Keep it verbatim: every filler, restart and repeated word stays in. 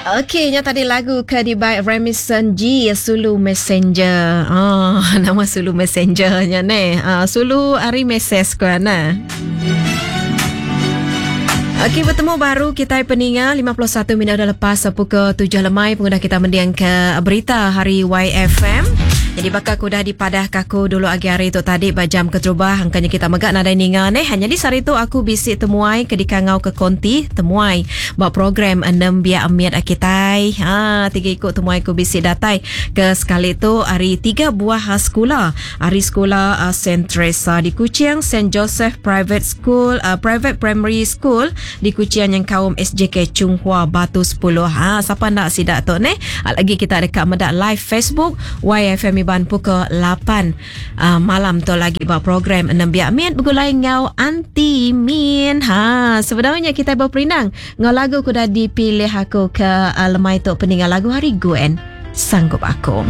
Okey, nya tadi lagu ke dibai Remison G, Sulu Messenger. Oh, nama Sulu Messenger nya neh. Ah, Sulu ari Meses ko ana. Okey, bertemu baru kita peninga lima puluh satu minit dah lepas pukul tujuh lemai pengudah kita mendiang ke berita hari Y F M. Jadi bakal aku dah dipadah kaku dulu agi hari tu tadi ba jam keterubah angkanya kita megak nadai ninga neh. Hanya di sehari tu aku bisi temuai ke dikangau ke konti temuai ba program enam biak emiat akitai. Ha, tiga ikut temuai ku bisi datai ke sekali tu hari tiga buah sekolah. Hari sekolah uh, Saint Teresa di Kuching, Saint Joseph Private School, uh, Private Primary School di Kuching yang kaum S J K Chung Hua Batu sepuluh. Ha, siapa nak sidak tu neh? Lagi kita dekat medak live Facebook Y F M Iban pukul lapan uh, malam tu lagi buat program enam biak min bergulai ngau Aunty Min. Ha, sebenarnya kita berperindang ngau lagu ku dah dipilih aku ke uh, lemai tu peninggal lagu hari Gwen Sanggup Aku.